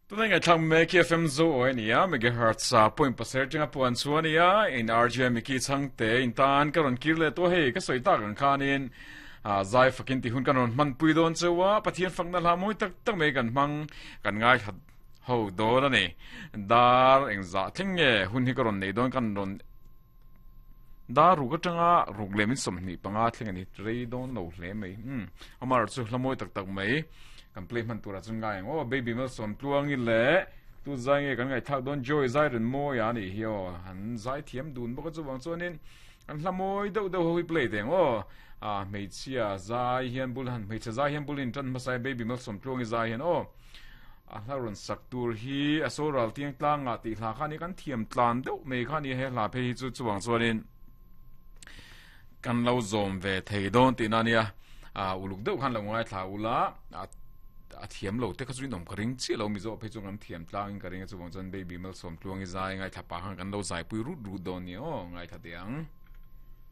Tunai ngaihthlak mek hi FM Zo aw ania megahertz a point pasarih atanga puan chu ania in RJ Mickey chhangte in tan ka rawn kir leh tawh hei ka sawi tak ang khanin a zai fakin tih hun kan rawn hman pui dawn cheu a Pathian fakna hla mawi tak tak mai kan hmang kan ngaithla ho dawn ani dar engzah thleng nge hun hi ka rawn nei dawn kan rawn Dar ruk atanga ruk leh min 25 thleng a ni rei dawn lo hle mai. Umm amah chu hla mawi tak tak mai kan play hman turah chuan ngai ang aw Baby Malsawm Tluangi leh tu zai nge kan ngaihthlak dawn Joy zai rin mawi a nih hi aw an zai thiam dun bawk a chuvang chuanin an hla mawi deuh deuh ho hi play teh ang aw a hmeichhia zai hian bul han hmeichhe zai hian bul in tan hmasa Baby Malsawm Tluangi zai hian aw A hla rawn sak tur hi a saw ral tiang tlangah tih hla kha a ni kan thiam tlan deuh mai kha a ni he hla phei hi chu chuvang chuanin kan lo zawm ve thei dawn tihna a nia a uluk deuh khan lo ngaithla ula a thiam lo te kha chu inawm ka ring chiah lo mizo phei chu kan thiam tlangin ka ring a chuvang chuan baby malsawm tluangi zai ngaithla pah khan kan lo zaipui rut rut dawn nia aw ngaithla teh ang.